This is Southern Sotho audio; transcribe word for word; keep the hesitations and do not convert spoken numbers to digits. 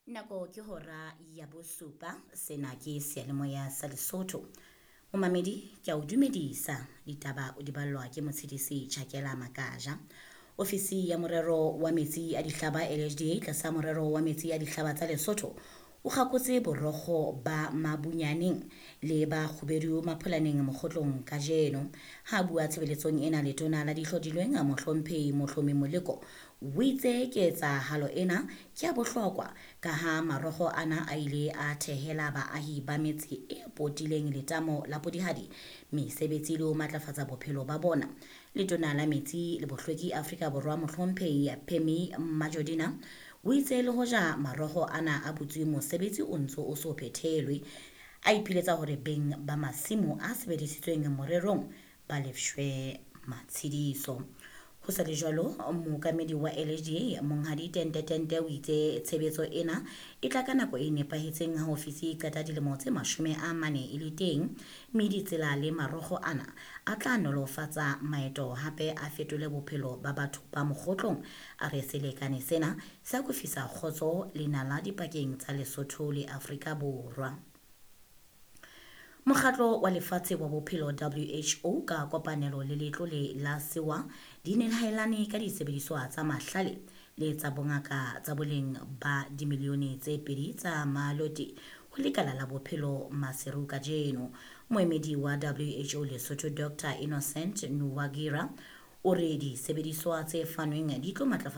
Nako ke hora ya bosupa, sena ke seyalemoya sa Lesotho. Momamedi, ke a o dumedisa. Ditaba o di ballwa ke Motshedisi Chakela Makaja. Ofisi ya morero wa metsi a dihlaba L H D A tlasa morero wa metsi a dihlaba tsa Lesotho o kgakotse borokgo ba Mabunyaneng le ba Kgubedu Mapholaneng Mokgotlong kajeno. Ha bua tshebeletsong ena, letona la dihlodilweng Mohlomphehi Mohlomi Moleko o itse ketsahalo ena ke ya bohlokwa ka ha marokgo ana a ile a thehela baahi ba metse e potileng letamo la Podihadi mesebetsi le ho matlafatsa bophelo ba bona. Letona la metsi le bohlweki Afrika Borwa Mohlomphehi Pemmy Majodina o itse le hoja marokgo ana a butswe, mosebetsi o ntso o so phethelwe. A ipiletsa hore beng ba masimo a sebedisitsweng morerong ba lefshwe matshediso. Ho sa le jwalo, mookamedi wa L H D A Monghadi Tente Tente o itse tshebetso ena e tla ka nako e nepahetseng ha ofisi e qeta dilemo tse mashome a mane e le teng, mme ditsela le marokgo ana a tla nolofatsa maeto hape a fetole bophelo ba batho ba Mokgotlong. A re selekane sena se akofisa kgotso le nala dipakeng tsa Lesotho le Afrika Borwa. Mokgatlo wa Lefatshe wa Bophelo W H O ka kopanelo le letlole la Sewa di nehelane ka disebediswa tsa mahlale le tsa bongaka tsa boleng ba dimilione tse pedi tsa maloti ho lekala la bophelo Maseru kajeno. Moemedi wa W H O Lesotho Doctor Innocent Nuwagira o re disebediswa tse fanweng di tlo matlafatsa